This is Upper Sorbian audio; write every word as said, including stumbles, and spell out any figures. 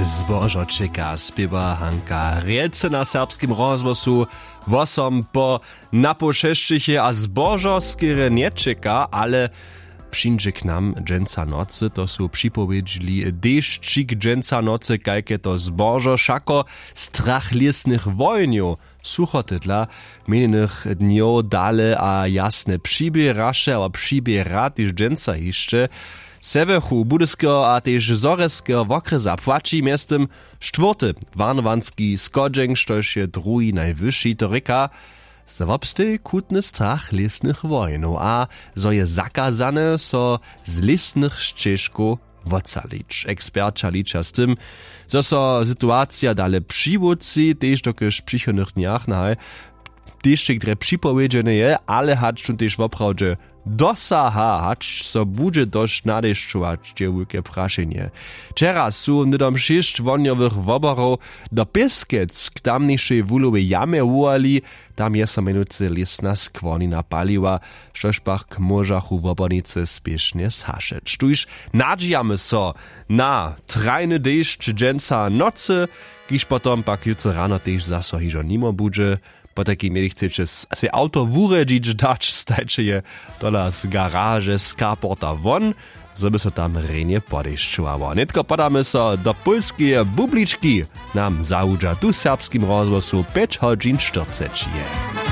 Zbožo čeka, spěwa Hanka Rjelce na Serbskim rozhłosu. Wosom po napoł šesćich je a zbožo skerje njećeka, ale přińdźe k nam dźensa nocy, to su připowědźili dešćik dźensa nocy, kajke to zbožo wšako strach lěsnych wojenjow. Suchotydla minjenych dnjow dale a jasne přiběraše abo přiběra tež dźensa hišće. Sewjechu budyskeho a tež zhorjelskeho wokrjesa płaći mjeztym štwórty warnowanski schodźeń, štož je druhi najwyši, to rěka, zo wobsteji chutny strach lěsnych wojenjow a zo je zakazane so z lěsnych šćežkow wotsalić. Eksperća liča z tym, zo so situacija dale přiwótři tež dokelž w přichodnych dnjach nahaj tež drje připowědźene je, ale hač tón tež woprawdźe dosaha, hač so budźe dosć nadešćować, je wulke prašenje. Wčera su hnydom šěsć wohnjowych woborow do Pěskec k tamnišej wuhlowej jamje wołali. Tam je so mjenujcy lěsna skłonina paliła, štož pak móžachu wobornicy spěšnje zhašeć. Tuž nadźijamy so na trajny dešć dźensa nocy, kiž potom pak jutře rano tež zaso hižo nimo budźe. Potajkim jeli chceće sej awto wurjedźić dać, stajće je tola z garaže z carporta won, zo by so tam rjenje podešćowało. Nětko podamy so do pólskeje bublički. Nam zawudźa tu w Serbskim rozhłosu pjeć hodźin štyrceći je.